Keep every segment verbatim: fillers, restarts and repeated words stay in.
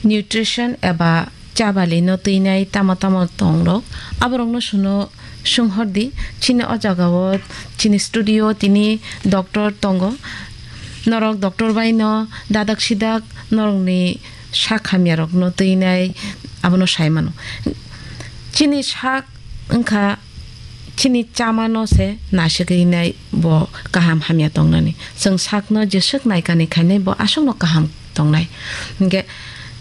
nutrition eba chabali no twinai tamo tamo tongrok, aborokno suno swnghordi. Chini o jagao chini studio tini doctor tongo, norok doctor bai no dadak sidak norokni sak hamya rokno twinai abono sai mano. Chini sak wngkha chini chamano se naisik rinai bo kaham hamya tongnani. Chwng sakno jeswk naikani khainai bo aswkno kaham tongnai. Hinkhe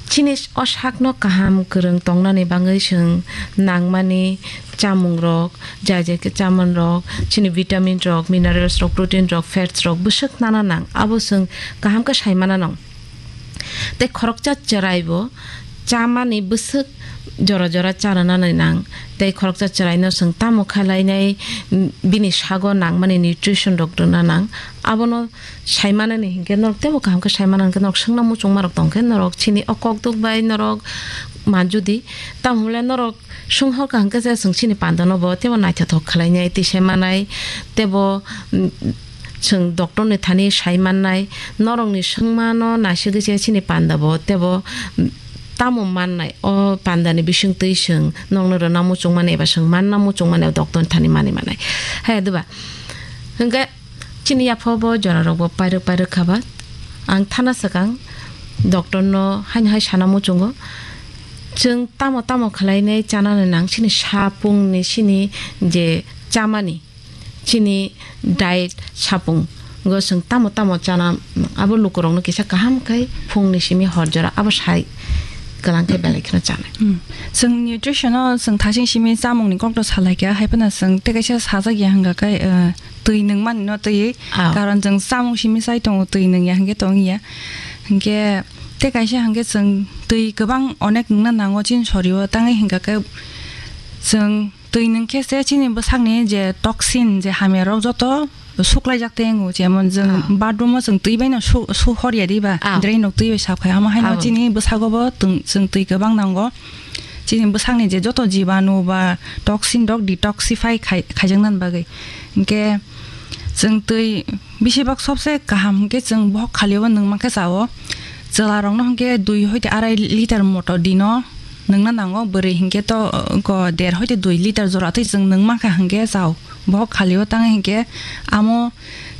chini o sakno kaham kwrwng tongnani bagwi chwng nangmani chamungrok, jai jai khe chamungrok, chini vitamin rok, minerals rok, protein rok, fats rok bwswk nana nang, abo chwng kaham khe sai mana nang. Tei khoroksa chwrai bo chamani bwswk jora jora chana nanai nang. Tei khoroksa chwraino chwng tamo khlainai, mm, bini sago nangmani nutrition rok rwna nang. Abono sai manani hinkhe norok teibo kaham khe sai mana hinkhe norok swngna muchungma rok tongkhe norok chini o kokduk bai norok manjudi. Tamo hwnle norok swnghor kaham khe je chwng chini pandano bo teibo naithothok khlainai twi sai manai teibo, mm, chwng doctor ni thani sai mannai, norokni swngmano naisigwi se chini panda bo teibo, mm, tamo mannai, o panda ni bisingtwi chwng nokno rwna muchungmani eba chwng manna muchungmani o doctor ni thani mani manai. Hai diba? Hinkhe chini yapha bo jora rok bo pairwk pairwk kha ba. Ang thana swkang doctor no haino hai sana muchungo. Chwng tamo tamo khlainai chanani nang chini sapung ni chini je chamani chini diet sapung go chwng tamo tamo chana abo lukurokno kisa kaham khai phungni simi hor jora abo sai kwlang khe belai kheno chanai. Hmm. Chwng nutrition o chwng thasing simi chamung ni kokno salai kha, hai phano chwng tei kaisa sajak ya hwnga khe, eh, twi nwng mani no twi. Ah. Karon chwng chamung simi sai tongo, twi nwng ya hwnkhe tong ya. Hwnkhe tei kaisa hwnkhe chwng twi kwbang onek nwngna nango chini sorio, tangwi hwnkha khe chwng twi nwng khe se chini bwsakni je toxin, je hamya rok joto suklaijak tei wngo, jemon chwng Ah. bathroom o chwng twi bai no su, su hor ya di ba, Ah. drain rok twi bai sap khai, amo haino Abo. chini bwsago bo twng-, chwng twi kwbang nango. Chini bwsakni je joto jibanu ba toxin rok detoxify khai, khaijaknani bagwi. Hinkhe chwng twi bisi bak sobse kaham hinkhe chwng bohok khali o nwng mankhe cha o. Chwla rokno hinkhe dui hoite arai liter moto dino nwngna nango, bwrwi hinkhe to, uh, ko der hoite dui liter jora twi chwng nwng mankha hinkhe cha o. Bohok khali o tang hinkhe amo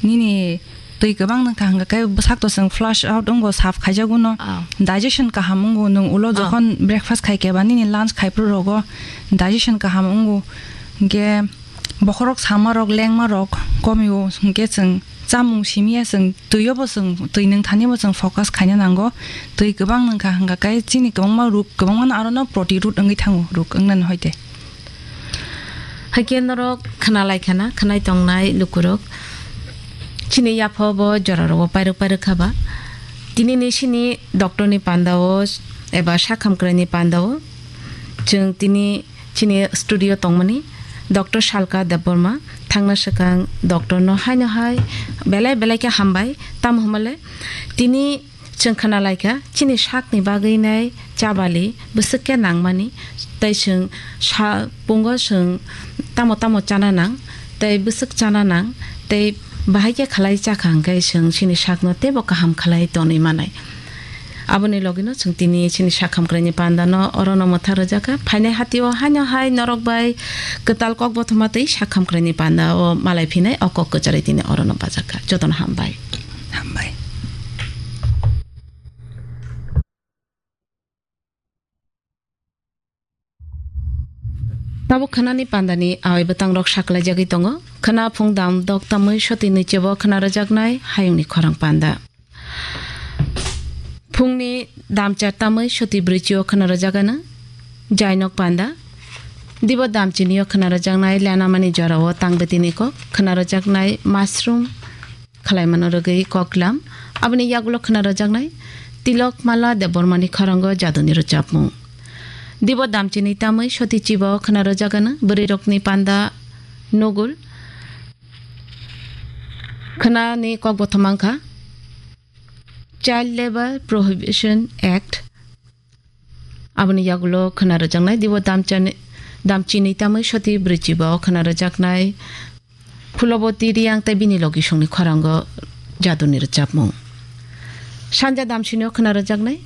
nini twi kwbang nwngkha hwnkha khe bwsak to chwng flush out wngo, sap khaijago no. Ah. Digestion kaham wngo, nwng ulo Ah. jokhon breakfast khai khe ba nini lunch khai phuru rogo digestion kaham wngo. Hinkhe bokhorok sama rok, lengma rok komio, hinkhe chwng chamung simi ya, chwng twi o bo chwng, twi nwng thani bo chwng focus khaina nango. Twi kwbang nwngkha hwnkha khe chini kwbangma ruk, kwbangma no aro no proti root wngwi thango, ruk wngnani hoite. Haikhe norok khna lai khana, khnai tongnai lukurok. Chini yapha bo jora rogo pairwk pairwk kha ba. Tini ni sini doctor ni panda o eba sak hamkrai ni panda o chwng tini chini studio tongmani doctor Salka Debbarma, thangna swkang doctor no haino hai belai belai khe hambai. Tamo hwnba le tini chwng khna lai kha, chini sakni bagwi nai chabali bwswk khe nangmani, tei chwng sa pungo chwng tamo tamo chana nang, tei bwswk chana nang, tei bahai khe khlai cha kha hwnkhe chwng chini sakno teibo kaham khlai tonwi manai. Aboni logino chwng tini chini sak hamkraini panda no oro no mwthang rwjak kha. Phainai hati o haino hai norok bai kwtal kok bothoma tei sak hamkraini panda o malai phinai o kok kwcharwi tini oro no bajak kha. Jotono hambai. Hambai. Tabuk khwnani pandani awai bwtangrok saklaijagwi tongo. Khwna phung dam dok tamwi soti nwi chebo khwna rwjaknai hayungni khorang panda. Phungni dam char tamwi soti brwichi o khwna rwjagano jainok panda. Dibo dam chini o khwna rwjaknai lenamani jorao tangbwtini kok khwna rwjaknai mushroom khwlaimano rwgwi koklam. Aboni yagulo khwna rwjaknai Tilok Mala Debbarmani khoranggo jaduni rwchapmung. Dibo damchini tamwi soti chiba o khwna rwjagano bwrwirokni panda nugul. Khwnani kok bothoma wngkha Child Labour Prohibition Act. Aboni yagulo khwna rwjaknai dibo damchani, damchini tamwi soti brwichiba o khwna rwjaknai Phuloboti Riyang tei bini logisongni khorango jaduni rwchapmung. Sanja damchini o khwna rwjaknai